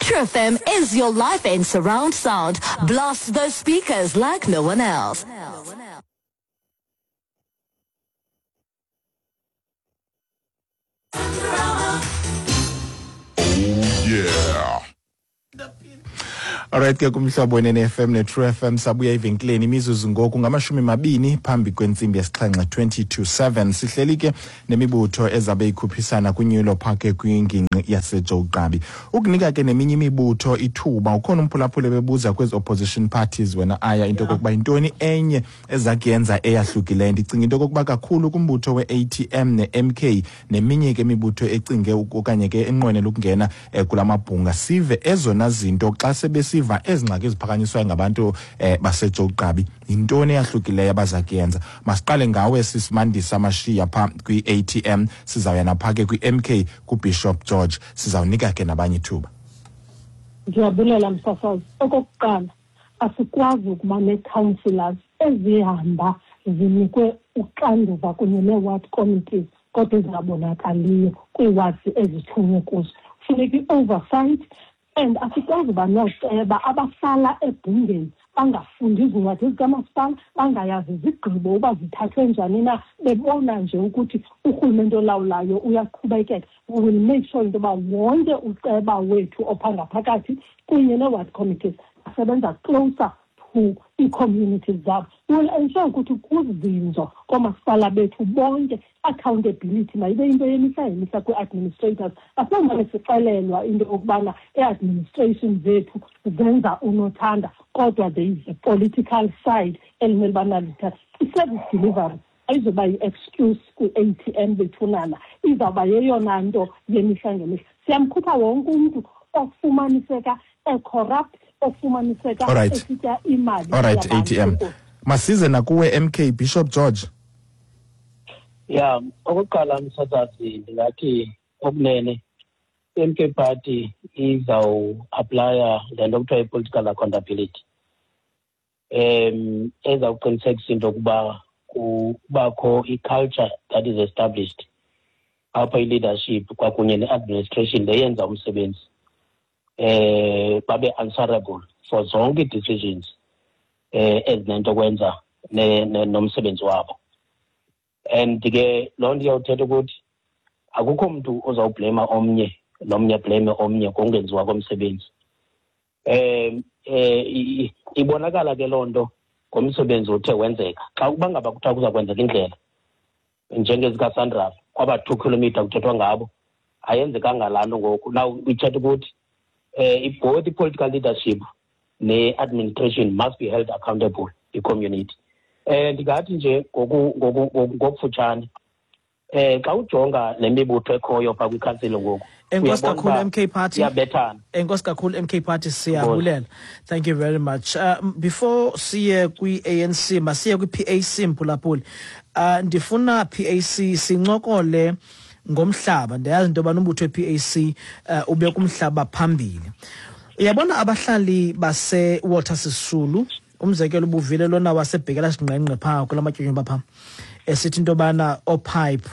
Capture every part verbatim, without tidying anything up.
True F M is your life in surround sound. Blast those speakers like no one else. Oh yeah. Alright ke kumhlobo wenene F M ne True F M sabuya evenkileni imizuzu ngoku ngamashumi mabini phambi kwentsimbi yesixhenxe twenty to seven. Sihleli ke nemibutho ezabe ikhuphisana kwinyulo park kwingingqi yaseJoe Gqabi. Ukunika ke neminye imibutho ithuba, ukhona umphulaphuli bebuza kwezi opposition parties wena aya into kokuba intoni enye ezakuyenza eyahlukileyo. Ndicinga into kokuba kakhulu kumbutho we-A T M ne-M K neminye ke imibutho ecinge okanye ke enqwenela ukungena kula mabhunga, sive ezona zinto xa sebesiva ezingxaki eziphakanyiswayo ngabantu eh, baseJoe Gqabi, yintoni eyahlukileyo abaza kuyenza. Masiqale ngawe sisimandisa Mashiya pha kwi-A T M, sizawuya napha ke kwi-M K kuBishop George, sizawunika ke nabanye ithuba. Ndiyabulela msasazi. Okokuqala, asikwazi ukuba nee-councillors ezihamba zinikwe uxanduva kunye nee-ward committees kodwa ezingabonakaliyo kwii-wards ezithunywe kuzo. Funeka i-oversight, and asikwazi uba nooceba abahlala ebhungeni bangafundi izincwadi zikamasipala, bangayazi izigqibo uba zithathwe njani na, bebona nje ukuthi urhulumente olawulayo uyaqhubekeka. We will make sure into yoba wonke uceba wethu opha ngaphakathi kunye nee-ward committees asebenza closer to ii-communities zabo. We will ensure ukuthi kuzinzo koomasipala bethu bonke, accountability mayibe into yemihla ngemihla kwii-administrators. Asingomane sixelelwa into yokubana ii-administration zethu zenza unothanda, kodwa there is a political side elimele uba nalithatha. I-service delivery ayizoba yi-excuse kwi-A T M bethunana, izawuba yeyona nto yemihla ngemihla. Siyamkhupha wonke umntu ofumaniseka e-corrupt, ofumaniseka esitya imali. All right, A T M. Masize nakuwe M K Bishop George. Yeah, okokuqala msasazi ndingathi okunene M K Party izawu-aplaya le nto kuthiwa i-political accountability. Um ezawuqinisekisa into yokuba kubakho i-culture that is established apha i-leadership kwakunye ne-administration le yenza umsebenzi, eh babe answerable for zonke decisions eh ezinento kwenza nomsebenzi wabo. And ke loo nto iyawuthetha ukuthi akukho mntu ozawublema omnye nomnye blame omnye ngokungenziwa komsebenzi. Eh eh ibonakala ke loo nto ngomsebenzi othe wenzeka. Xa ukuba ngaba kuthiwa kuza kwenzeka indlela njengezikaSandraf kwaba two kilometer kuthethwa ngabo, ayenzekanga laa nto ngoku. Now ithetha ukuthi eh both political leadership ne-administration must be held accountable i-community. Eh ndingathi nje ngokufutshane eh xa ujonga le mibutho ekhoyo phaa kwikhansile ngoku. Enkosi kakhulu M K Party. Iyabethana. Enkosi kakhulu M K Party, siyabulela. Thank you very much. Uh, before siye kwi-A N C, masiye kwi-P A C mphulaphuli. Uh, ndifuna P A C sincokole ngomhlaba. Ndiyazi into yobana umbutho we-P A C uh, ube kumhlaba phambili. Uyabona abahlali base-Walter Sisulu, umzekelo ubuvile lona wasebhekela singqengqe phaa kula matyonyomba phaa, esithi into yobana oopipe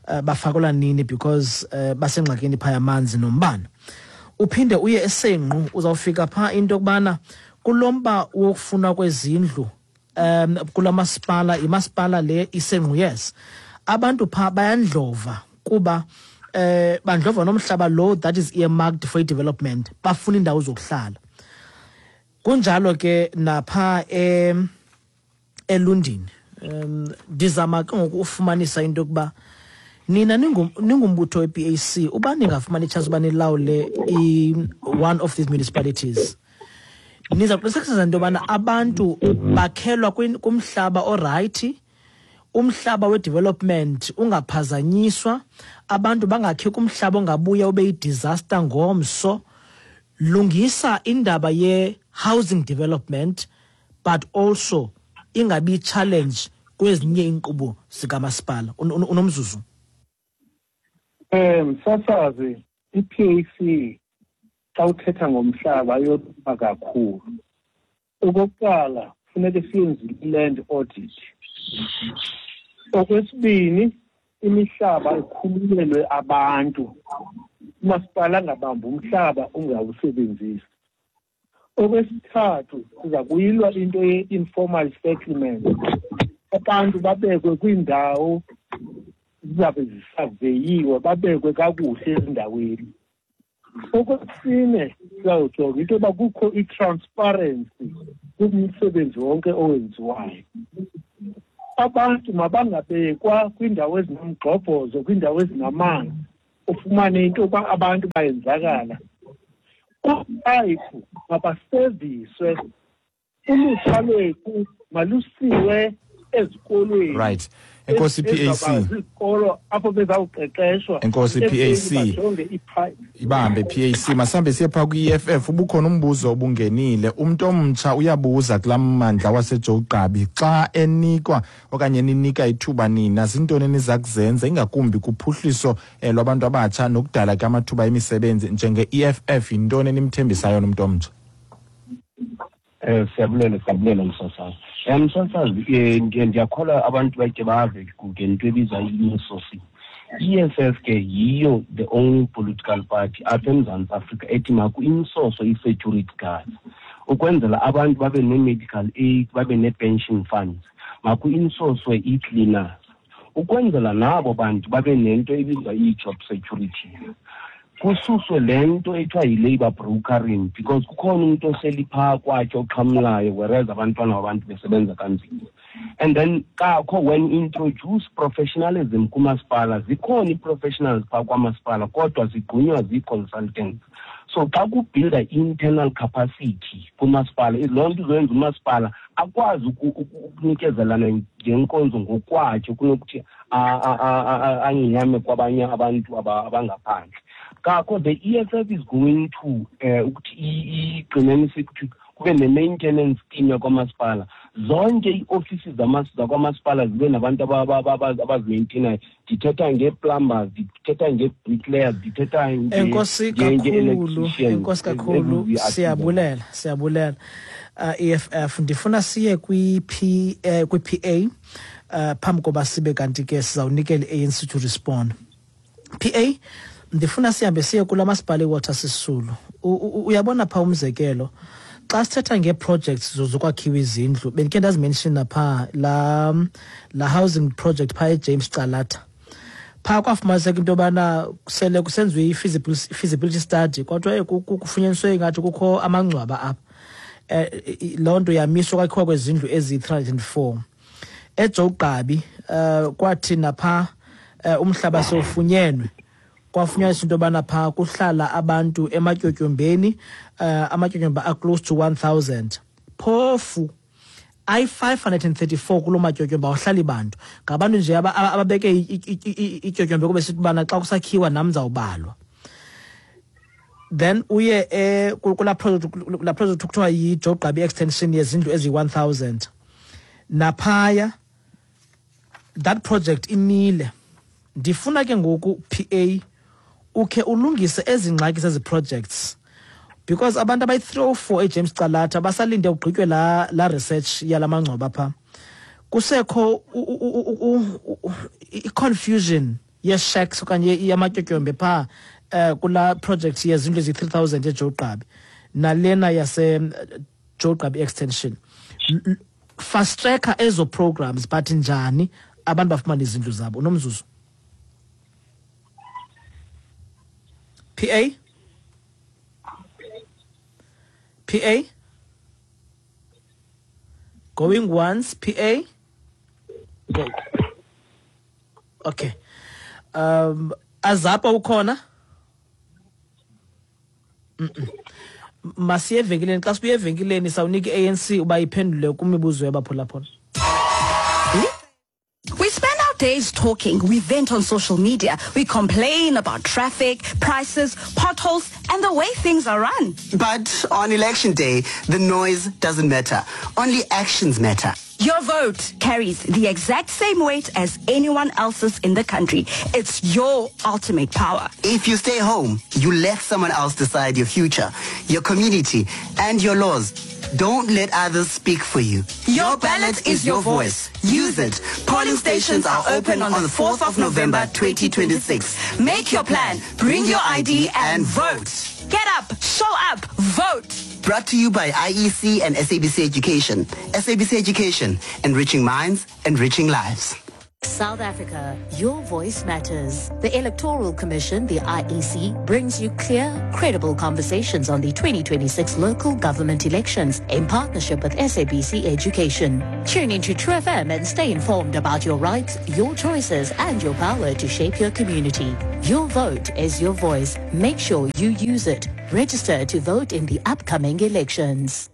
uh, bafakelwa nini because uh, basengxakini phaa yamanzi nombane. Uphinde uye eSenqu, uzawufika phaa into yokubana kulo mba wokufuna kwezindlu um kula masipala, imasipala le iSenqu, yes, abantu phaa bayandlova kuba eh bandlova nomhlaba lo that is earmarked for development, bafuna indawo zokuhlala. Kunjalo ke napha eh eLundini, um ndizama ke ngoku ufumanisa into yokuba nina ningumbutho we-P A C, uba ningafumani chance uba nilawule i one of these municipalities, niza kuqinisekisa into yobana abantu bakhelwa kumhlaba orayithi, umhlaba we-development ungaphazanyiswa, abantu bangakhi kumhlaba ongabuya ube yi-disaster ngomso. Lungisa indaba ye-housing development, but also ingabi challenge kwezinye iinkqubo zikamasipala. Unomzuzu. Eh msasazi, i-P A C xa uthetha ngomhlaba ayolima kakhulu. Okokuqala funeka siyenze i-land audit. Okwesibini, imihlaba ikhululelwe abantu Umasipala angabambi umhlaba ungawusebenzisi. Okwesithathu, siza kuyilwa into ye-informal settlement. Abantu babekwe kwiindawo zizabe zisaveyiwe, babekwe kakuhle ezindaweni. Okwesine, sizawujonga into yoba kukho i-transparency kumsebenzi wonke owenziwayo. Abantu mabangabekwa kwiindawo ezinomgxobhozo, kwiindawo ezinamanzi, ufumane into yoba abantu bayenzakala. Oopayipu mabaseviswe, ulutsha lwethu malusiwe ezikolweni. Right. Enkosi P A C. Izikolo apho bezawuqeqeshwa. Enkosi P A C. Ibambe P A C. Masambe siye phaa kwi-E F F. Ubukhona umbuzo obungenile. Umntu omtsha uyabuza kulaa mmandla waseJoe Gqabi xa enikwa okanye ninika ithuba nina, zintoni eniza kuzenza ingakumbi kuphuhliso lwabantu abatsha nokudala ke amathuba emisebenzi njenge-E F F, yintoni enimthembisayo nomntu omtsha? Eh siyabulela siyabulela msasazi. Eh msasazi ndiyakholwa abantu bayike bave ngento ebizwa i-insourcing. I E F F ke yiyo the only political party apha eMzantsi Afrika ethi maku-insource i-security guards ukwenzela abantu babe ne-medical aid, babe ne-pension funds. Maku-insource i-cleaners ukwenzela nabo bantu babe nento ebizwa i-job security. Kususwe le nto ethiwa yi-labour brokering because kukhona umuntu ohleli phaa kwakhe oxhamlayo whereas abantwana babantu besebenza kanzima. And then kakho when introduce professionalism kumasipala, zikhona ii-professionals phaa kwamasipala kodwa zigqunywa zii-consultants. So xa kubuilda internal capacity kumasipala, loo nto izoyenza umasipala akwazi ukunikezelana ngenkonzo ngokwakhe kunokuthi angiyame kwabanye abantu abangaphandle. Kakho the E F F is going to ukuthi igcinenise ukuthi kube ne-maintenance team yakwamasipala. Zonke ii-offices zakwamasipala zibe nabantu abazimaintainayo. Ndithetha ngee-plumbers, ndithetha ngee-bricklayers, ndithetha Enkosi kakhulu, enkosi kakhulu, siyabulela, siyabulela. Uh, E F F ndifuna siye kwi-P uh, kwi-P A uh, phambi koba sibe kanti ke sizawunikela i-A N C to respond. P A ndifuna sihambe siye kula masipala iWalter Sisulu. Uyabona pha umzekelo xa sithetha ngee-projects zokwakhiwa izindlu, bendikhe ndazimenshina phaa la, la housing project phaa eJames Calata. Phaa kwafumaniseka into yobana sele kusenziwe i-feasibility study kodwa kufunyaniswe ingathi kukho amangcwaba apha. Eh, loo nto yamiswa kwakhiwa kwezindlu eziyi-three hundred and four. EJoe Gqabi uh, kwathi napha uh, umhlaba sewufunyenwe kwafunyaniswa into yobana phaa kuhlala abantu ematyotyombeni, uh, amatyotyombe a-close to one thousand. Phofu ayi-five hundred and thirty-four kuloo matyotyombe awuhlali bantu. Ngabantu nje ababeke ityotyombe kube sithi ubana xa kusakhiwa nam ndizawubalwa. Then uye eh, kulaa project kulaa project kuthiwa yiJoe Gqabi extension yezindlu eziyi-one thousand. Naphaya that project imile. Ndifuna ke ngoku P A ukhe ulungise ezi ngxaki zezi projects because abantu abayi-three oh four eJames Calata basalinde ugqitywe la la research yala mangcwaba pha. Kusekho i-confusion ye-shacks okanye yamatyotyombe pha uh, kula project yezindlu ezi-three thousand eJoe Gqabi nalena yase Joe Gqabi extension. Fast tracker ezo programs but njani abantu bafumane izindlu zabo? Unomzuzu P A? P A? Going once, P A? Go. Okay. Um, Azapa ukhona? Mm-mm. Masiye evenkileni, xa sibuye evenkileni sawunika i-A N C uba iphendule kwimibuzo yabaphulaphula. We spend our days talking, we vent on social media, we complain about traffic, prices, potholes, and the way things are run. But on election day, the noise doesn't matter. Only actions matter. Your vote carries the exact same weight as anyone else's in the country. It's your ultimate power. If you stay home, you let someone else decide your future, your community, and your laws. Don't let others speak for you. Your ballot is your voice. Use it. Polling stations are open on the fourth of November twenty twenty-six. Make your plan, bring your I D and vote. Get up, show up, vote. Brought to you by I E C and S A B C Education. S A B C Education, enriching minds, enriching lives. South Africa, your voice matters. The Electoral Commission, the I E C, brings you clear, credible conversations on the twenty twenty-six local government elections in partnership with S A B C Education. Tune into True F M and stay informed about your rights, your choices, and your power to shape your community. Your vote is your voice. Make sure you use it. Register to vote in the upcoming elections.